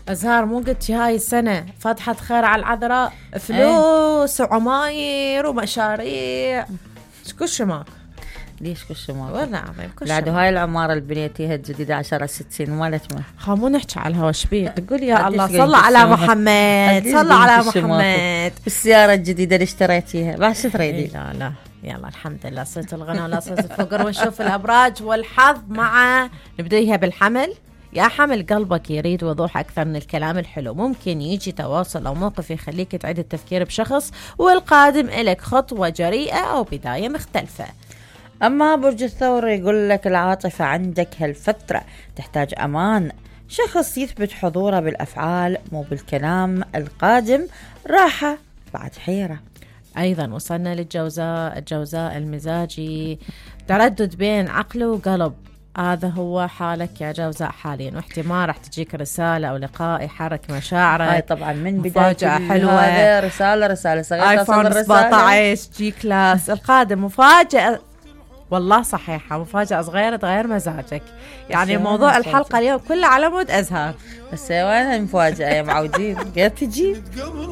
أزهار مو قلت هاي السنة فتحة خير على العذراء، فلوس وعماير ومشاريع كل ماك. ليش كل ماك؟ والله عظيم كل بعد هاي العمارة اللي بنيتيها الجديدة 10-60 مالت ما خامو نحكي على الهوا شبيه تقول يا الله صلى على محمد صلى على محمد. السيارة الجديدة اللي اشتريتيها بعد شو تريدي؟ لا يلا الحمد لله صرت الغنى ولا صرت الفقر ونشوف الأبراج والحظ مع نبديها بالحمل. يا حمل قلبك يريد وضوح أكثر من الكلام الحلو، ممكن يجي تواصل أو موقف يخليك تعيد التفكير بشخص، والقادم إلك خطوة جريئة أو بداية مختلفة. أما برج الثور يقول لك العاطفة عندك هالفترة تحتاج أمان، شخص يثبت حضوره بالأفعال مو بالكلام، القادم راحة بعد حيرة. أيضا وصلنا للجوزاء، الجوزاء المزاجي تردد بين عقل وقلب، هذا هو حالك يا جوزاء حاليا، واحتمال راح تجيك رسالة أو لقاء يحرك مشاعرك. هاي طبعا من بداية مفاجأة حلوة، هذا رسالة صغيرة آيفون 17 جي كلاس. القادم مفاجأة والله صحيحة، مفاجأة صغيرة تغير مزاجك. يعني موضوع الحلقة اليوم كله على مود أزهار. بس وين المفاجأة يا معودين؟ قاعد تجي